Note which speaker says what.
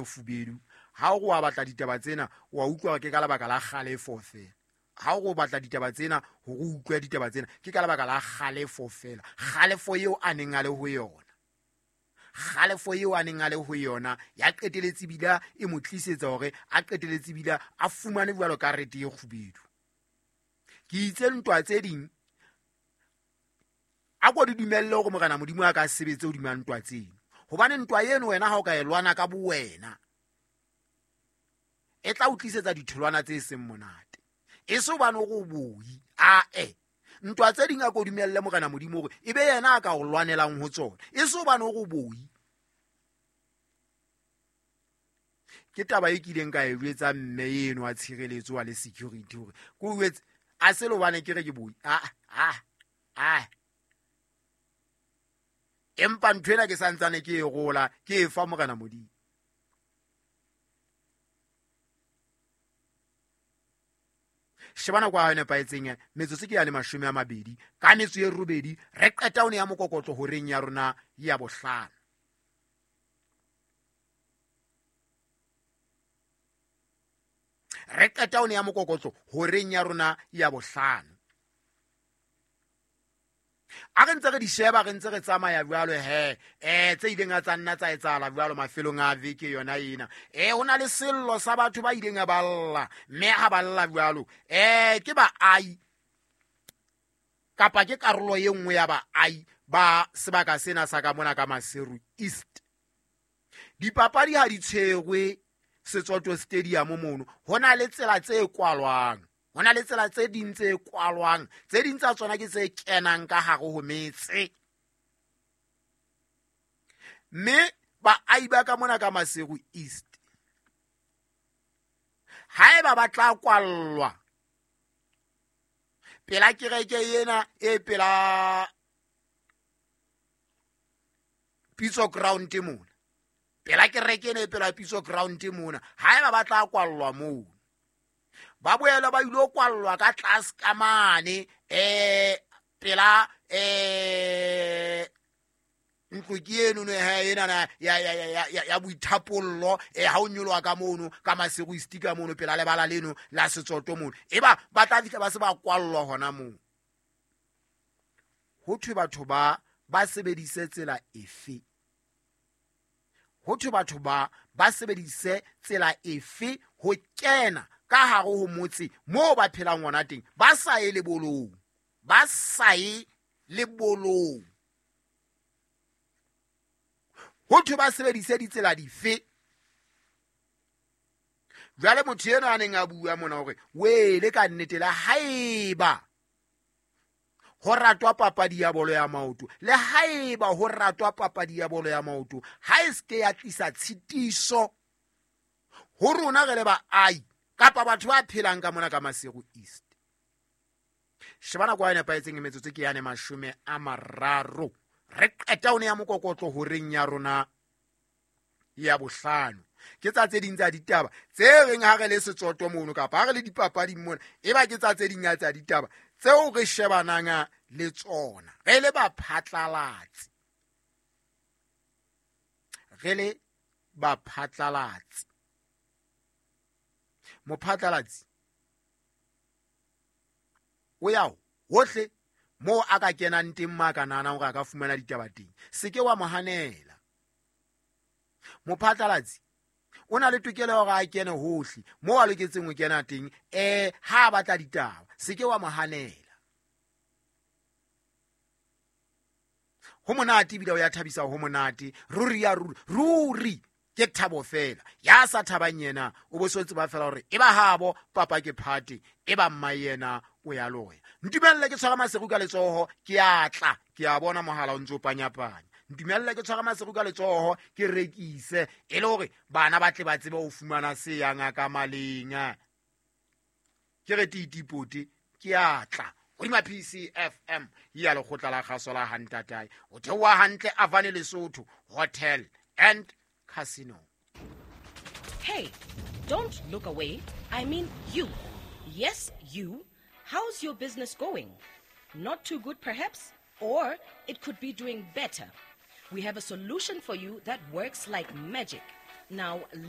Speaker 1: kgubedu. Ha o re wa batla ditaba tsena, wa utlwa hore ke ka lebaka la kgalefo fela. Ha o re o batla ditaba tsena hore o utlwe ditaba tsena, ke ka lebaka la kgalefo fela. Kgalefo eo a neng a le ho yona, kgalefo eo a neng a le ho yona ya qeteletse ebile e mo tlisetsa hore a qeteletse ebile a fumane jwalo karete e kgubedu. Ke itse ntwa tse ding a ko di dumelle hore Morena Modimo a ka sebetse hodima ntwa tseno, hobane ntwa eno wena ha o ka e lwana ka bowena e tla o tlisetsa ditholwana tse seng monate. E se hobane o re o boi, ae. Ntwa tse ding a ko dumelle Morena Modimo hore e be yena a ka o lwanelang ho tsona, e se hobane o re o boi. Ke taba e kileng ka e jwetsa mme eno wa tshireletso wa le security hore ke o jwetse, a se le hobane ke re ke boi, a, a, a. Empa ntho ena ke santsane ke e rola, ke e fa Morena Modimo. Sheba nako ya hao e nepahetseng, metsotso ke ya le 28 ka metso e robedi, re qeta ho ne ya mokokotlo horeng ya rona ya bohlano. Re qeta ho ne ya mokokotlo horeng ya rona ya bohlano. A re ntse re di sheba, re ntse re tsamaya jwalo he, tse ileng tsa nna tsa etsahala jwalo mafelong a veke yona ena. Ho na le sello sa batho ba ileng ba lla, mme ha ba lla jwalo, ke baahi kapa ke karolo e nngwe ya baahi ba sebaka sena sa ka mona ka Maseru East. Dipapadi ha di tshwerwe Setsoto Stadium mono, ho na le tsela tse kwalwang. Ho na le tsela tse ding tse kwalwang, tse ding tsa tsona ke tse kenang ka hare ho metse. Mme baahi ba ka mona ka Maseru East, haeba ba tla kwallwa pela kereke ena e pela Pitso Ground mona, pela kereke ena e pela Pitso Ground mona, haeba ba tla kwallwa moo, ba boela ba ilo kwallwa ka tlase ka mane, pela, ntlo ke eno no, he, ena na, ya, ya, ya, ya, ya, ya boithapollo, ha o nyoloha ka mono, ka Maseru East ka mono, pela lebala leno la Setsoto mono, eba ba tla fihla ba se ba kwallwa hona moo. Ho thwe batho ba sebedise tsela efe? Ho thwe batho ba sebedise tsela efe ho kena ka hare ho motse moo ba phelang hona teng, ba sa ye lebolong, ba sa ye lebolong. Ho thwe ba sebedise ditsela dife? Jwale motho enwa a neng a bua mona hore wele ka nnete le haeba ho ratwa papadi ya bolo ya maoto, le haeba ho ratwa papadi ya bolo ya maoto, ha e se ke ya tlisa tshitiso ho rona re le baahi kapa batho ba phelang ka mona ka Maseru East. Sheba nako e nepahetseng, metsotso ke yane 30. Re qeta ho ne ya mokokotlo horeng ya rona ya bohlano. Ke tsa tse ding tsa ditaba tse reng ha re le Setsoto mono kapa ha re le dipapading mona, eba ke tsa tse ding tsa ditaba tseo re shebanang le tsona re le baphatlalatsi. Re le baphatlalatsi. Mophatlalatsi o ya hohle moo a ka kenang teng, ma ka nahanang hore a ka fumana ditaba teng, se ke wa mo hanela. Mophatlalatsi o na le tokelo ya hore a kene hohle moo a loketseng ho kena teng, ha a batla ditaba, se ke wa mo hanela. Ho monate ebile o ya thabisa, ho monate ruri ya ruri, ruri ke thabo fela. Ya sa thabang yena o bo so tseba fela hore e ba habo papa ke phate, e ba mma yena o ya loya. Ntumelle ke tshwara Maseru ka letsoho, ke a tla, ke a bona mohala o ntso panyapanya. Ntumelle ke tshwara Maseru ka letsoho, ke rekise e le hore bana ba tle ba tsebe ho fumana se yang ka maleng. Ke re titipote, ke a tla. Hodima PCFM ya lekgotla la kgaso la Hantatae. O theoha hantle Avane Lesotho Hotel and Casino.
Speaker 2: Hey, don't look away. I mean you. Yes, you. How's your business going? Not too good, perhaps? Or it could be doing better. We have a solution for you that works like magic. Now, listen.